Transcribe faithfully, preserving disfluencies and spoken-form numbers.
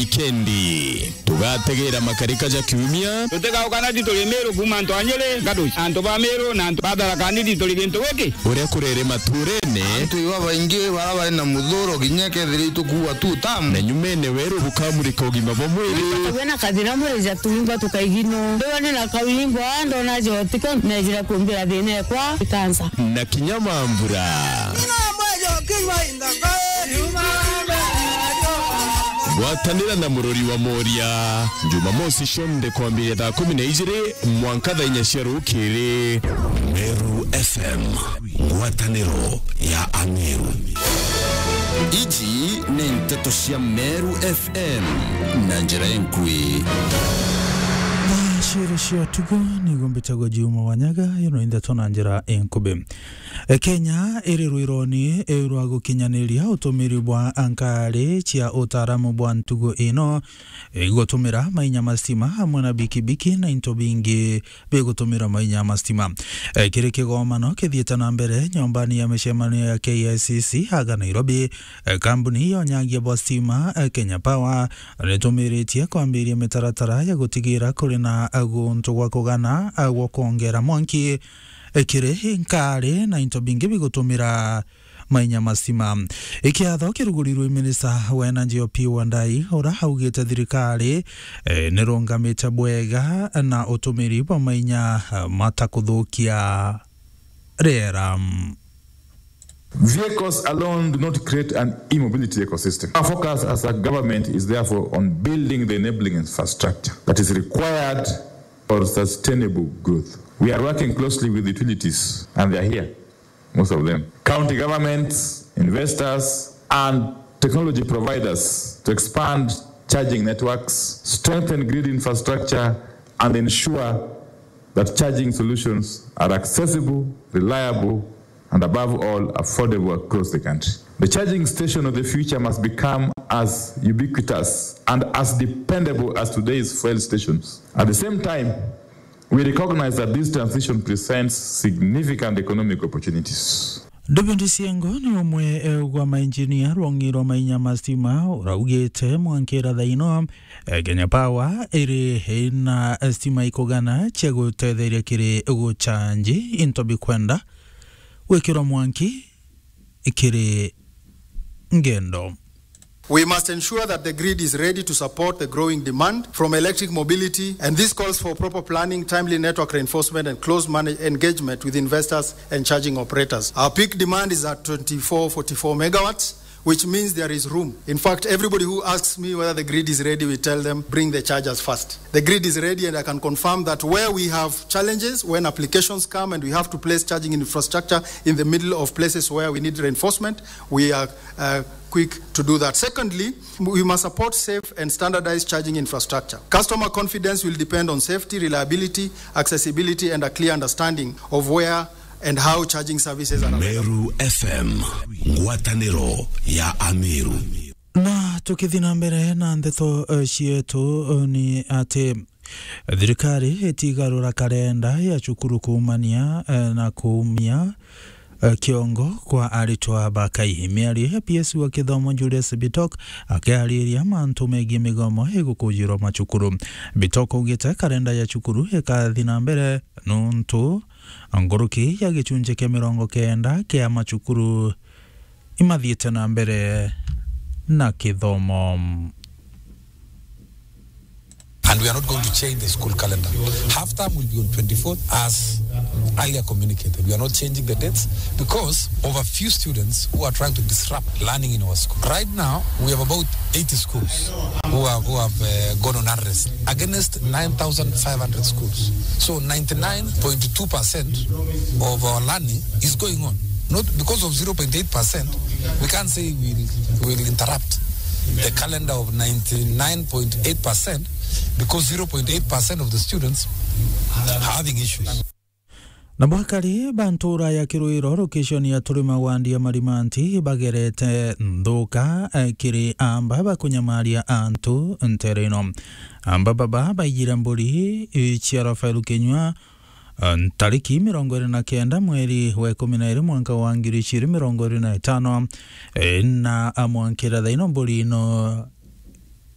Kendi. Tugategera makarika ja kiumia. Tutigaukana ti turi Miru kuuma antu a Nyeri, Gaduci, antu ba Miru na antu ba Tharaka Nithi turi gintu giki. Uria kurere maturene. Antu iba baingi bara bari na muthuro kinya kethira itukuua tu tamu. Na nyumene weru bukamurika ugima bwa mwiri. Tukagua na kathina mwiri ja tuingwa tukaigino. Ndiwa ni na kauingwa ndona jotiko nejira kumbira thina ekwa ikansa. Na kinya mambura. Gwatanira na murori wa Moria, Jumamosi cionthe kwambiria thaa kumi na ijiri mwanka thaa inya cia rukiri. Meru F M, ngwataniro ya Ameru. Iji ni nteto cia Meru F M na njira inkui. Ciiri cia tugo nigo mbitagwa Juma Wanyaga, ino ni nteto na njira inkubi. E, Kenya iri rwironi, e, rwa gukinyaniria utumiri bwa nkari cia utaaramu bwa ntugo ino, e, gutumira mainya ma stima amwe na bikibiki na into bingi bigutumira mainya ma stima. E, kiri kigomano kithiite na mbere nyombani ya micemanio ya K I C C aga Nairobi, e, kambuni ya unyagia bwa stima, e, Kenya Power, nitumiritie kwambiria mitaratara ya gutigira kuri na, e, guntu gwa kugana, e, gwa kwongera mwanki kiri nkari na into bingi bigutumira mainya ma stima. Ikiatho kirugurirwe minista wa energy Opiyo Wandayi, ura augite thirikari, e, nirungamite bwega na utumiri bwa mainya, e, matakuthukia riera. Vehicles alone do not create an e-mobility ecosystem. Our focus as a government is therefore on building the enabling infrastructure that is required for sustainable growth. We are working closely with utilities, and they are here, most of them, county governments, investors, and technology providers to expand charging networks, strengthen grid infrastructure, and ensure that charging solutions are accessible, reliable, and above all, affordable across the country. The charging station of the future must become as ubiquitous and as dependable as today's fuel stations. At the same time, we recognize that this transition presents significant economic opportunities. David Siengo ni umwe, e, wa mainjinia rwongi rwa mainya ma stima, uraugite mwankira thaino, e, Kenya Power iri ina stima ikugana cia gutetheria kiri guchanji into bikwenda gwikirwa mwanki kiri ngendo. We must ensure that the grid is ready to support the growing demand from electric mobility, and this calls for proper planning, timely network reinforcement, and close manage-, engagement with investors and charging operators. Our peak demand is at twenty-four forty-four megawatts, which means there is room. In fact, everybody who asks me whether the grid is ready, we tell them, "Bring the chargers first." The grid is ready, and I can confirm that where we have challenges, when applications come and we have to place charging infrastructure in the middle of places where we need reinforcement, we are, uh, quick to do that. Secondly, we must support safe and standardized charging infrastructure. Customer confidence will depend on safety, reliability, accessibility, and a clear understanding of where and how charging services are available. Meru F M, ngwataniro ya Ameru. Na tukithi na mbere na ndeto, eh, cietu, eh, ni ati thirikari itigarura karenda ya cukuru kuumania, eh, na kuumia, eh, kiongo kwa aritwa ba Kaihi. Miario ya P S wa kithomo Julius Bitok akiariria mantu megii migomo igukujirwa macukuru. Bitok augite karenda ya cukuru ikathi na mbere nuntu nkuruki ya gichunji kia mirongo kenda kia macukuru imathiite na mbere na kithomo. And we are not going to change the school calendar. Half term will be on twenty-fourth as earlier communicated. We are not changing the dates because of a few students who are trying to disrupt learning in our school. Right now, we have about eighty schools who have, who have, uh, gone on unrest against nine thousand five hundred schools. So ninety-nine point two percent of our learning is going on. Not because of zero point eight percent, we can't say we'll, we'll interrupt the calendar of ninety-nine point eight percent because zero point eight percent of the students are having issues. Na bwakari ba ntura ya Kirwiro, location ya Turima wandi ya Marimanti, bagerete nthuka, eh, kiri amba bakunyamaria antu ntere ino. Amba baba baijire mburi, eh, cia Rafael Kinyua, eh, ntariki mirongo iri na kenda mweri wa ikumi na iri mwanka wa ngiri ijiri mirongo iri na itano, eh, na amwankira thaino mburi ino